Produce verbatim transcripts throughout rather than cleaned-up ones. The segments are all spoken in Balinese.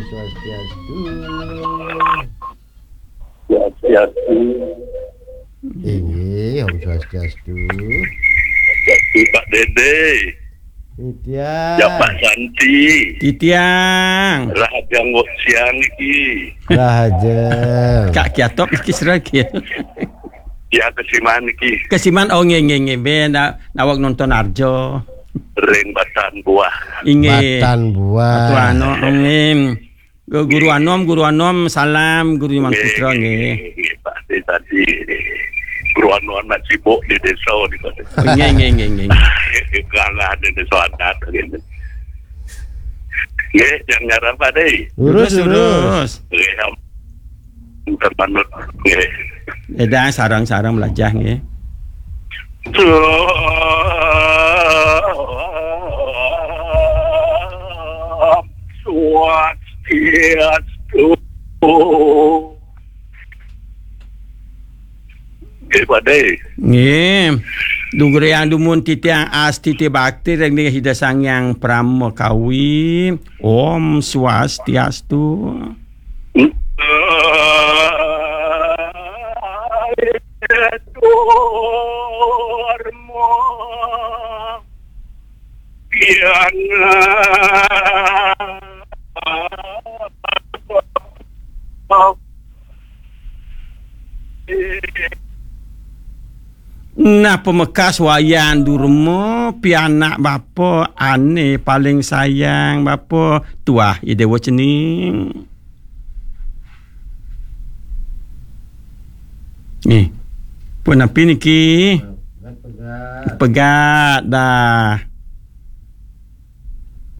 Swastiastu. Swastiastu. Inggih, Om Swastiastu. Swastiastu, Pak Dede. Titiang. Ya, Pak Santi. Titiang. Rahajeng siang niki. Rahajeng. Kak Kiatop niki sira nggih. Ya, kesiman niki. Kesiman, oh, nggih, nggih, nggih. Ben, na-, nawak nonton Arjo. Ring Batan Buah. Inggih. Batan Buah. Atuh anu, nggih. Gu-, Guru Anom, Guru Anom, salam, Guru Iman Putra, nggih. Nggih, Pak, tadi, tadi. Guru Anom masih sibuk di desa, di kota. Nggih, nggih, nggih, nggih. Kalah di desa adat, gitu. Nggih, yang ngarang Pak Dei. Lurus, lurus, lurus. Nggih, am-, terpanut. Nggih. Edah, sarang-sarang melajah, nggih. Om Swastiastu. Nggih, Pak Dei. Nggih. Dugreyang dumun titiang astiti bakti ring Ida Sang Hyang Pramakawi. Om Swastiastu. Dharma. Yang Nah, pamekas Wayan Durma, pianak bapa ane paling sayang bapa, tuah Ida Dewa Cening. Nih. Pun api niki? Pegat dah.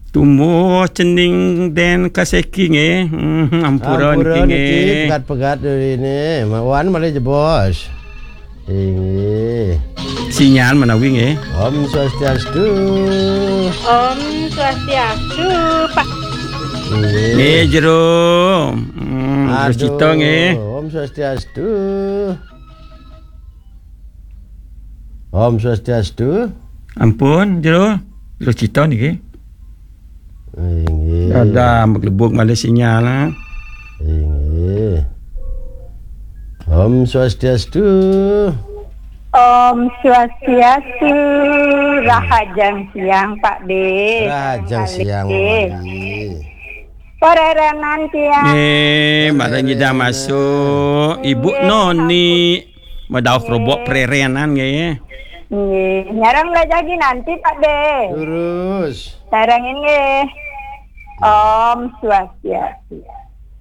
Tumbuh cening den kaseki nggih. Hmm, ampura niki nggih. Pegat-pegat dulu ini. Wan malih jebos. Inggih. Sinyal menawi nggih. Om Swastiastu. Om Swastiastu, Pak. Inggih. Nggih, Jero. Hmm, Jero Cita nggih. Om Swastiastu. Om Swastiastu. Ampun, Jero. Jero Cita niki. Inggih. Ada maglebug malih sinyal, ah. Inggih. Om Swastiastu. Om Swastiastu. Rahajeng siang, Pak De. Rahajeng siang, Pak De. Parerenan tiang. Nggih, Mbak Nida masuk. Ibu Noni. Medauh kerubuk parerenan nggih. Nggih, nyarang belajar lagi nanti, Pak De. Terus. Sareng nggih. Om Swastiastu.